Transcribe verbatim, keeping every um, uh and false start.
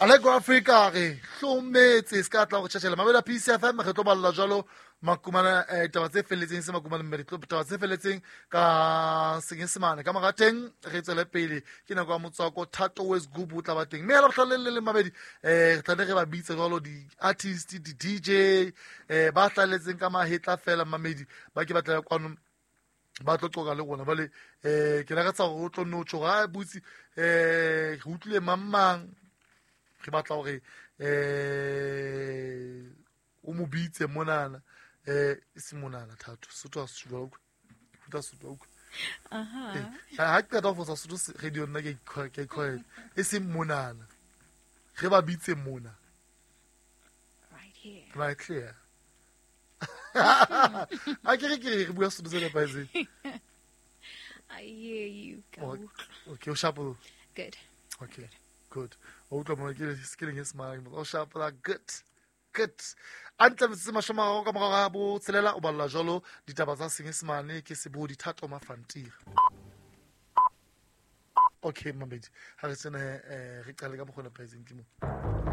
Allegro Africa re hlometse se ka tla go tšhatšhela mabela P C F M re tlo balla jalo makumana eh, taba tse felletseng se makumana mme re tlo taba tse felletseng ka Senyesemane ka marateng re tswele pele ke nako ya motswako Thato West Group o tla ba teng mme la bohlale le le mabedi eh re tla ne re ba bitse jalo di artist di D J eh ba hlaletseng ka mahetla fela mamedi ba ke batla kwano ba tlo qoka le rona bale eh ke lakatsa hore o tlo nno tjho ha butsi eh re utlwile mang mang re batla hore eh o mo bitse monana eh se monana Thato Sotho a se utlwa utlwa Sotho utlwa aha ha ke qeta ho fosa Sotho radio nna ke ke ke e seng monana re ba bitse mona right here right here a ke re ke re bua Sotho se nepahetseng. I hear you go. Okay, o sharp. Good. Okay, good. O utlwa mona ke ke leng smile o sharp la good. Good. A ntle metsotso mashome a mararo ka morao ga bo tshelela o balla jalo ditaba tsa Senyesemane ke Sebodi Thato Mafantira. Okay, mamedi. Ha re tsene eh re qale ka mokgwa o nepahetseng ke mo.